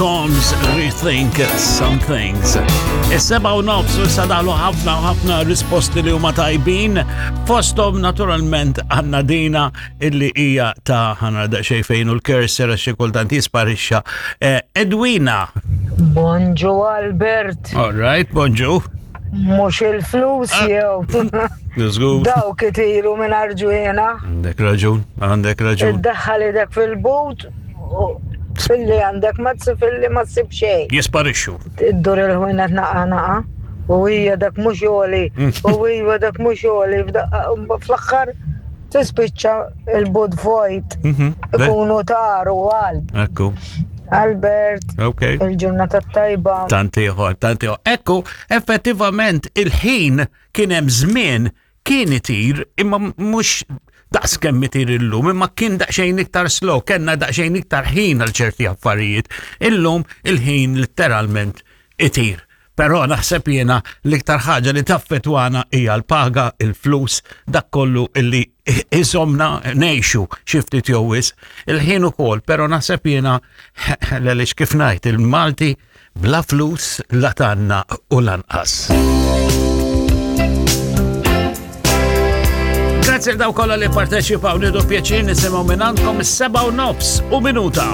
Combs Rethink Some Things. Is-seba u nofs u sadalu ħafna u ħafna risposti li huma tajbin. Fosthom naturalment għandna dina illi hija ta' ħana daqsxejn fejn u l-cursor għax xi kultant jisparixxa. Eh, Edwina. Bonġu Albert. All right, bonġu. Mhux il-flus ah. jew. Żgur. Dawk itiru minn arġwina. Għandek raġun, għandek raġun. Iddaħħal idek fil-but filli għandek ma filli ma tsib xejn. Jisparixxu. Iddur il-ħwienet naqa' naqa' u hija dak mhux għoli u hija dak mhux għoli fl-aħħar tispiċċa il-bud vojt. Mhm. Ikunu taru għal. Ekku. Albert. Ok. Il-ġurnata tajba. Tantiħor, tantiħor. Ekku, effettivament il-ħin kien hemm żmien kien itir imma mhux daqs kemm itir illum, imma kien daqsxejn iktar slow, kellna daqsxejn iktar ħin għal ċerti affarijiet. Illum il-ħin letteralment itir. Però naħseb jiena l-iktar ħaġa li taffetwana hija l-paga, il-flus, dak kollu illi iżomna ngħixu xi ftit jew wisq. Il-ħin ukoll, però naħseb jiena għaliex kif ngħid il-Malti bla flus la tanna u lanqas. Grazzi daw kollha li parteċipaw nidu pjaċir nisimgħu minn għandkom is-7 u nofs u minuta.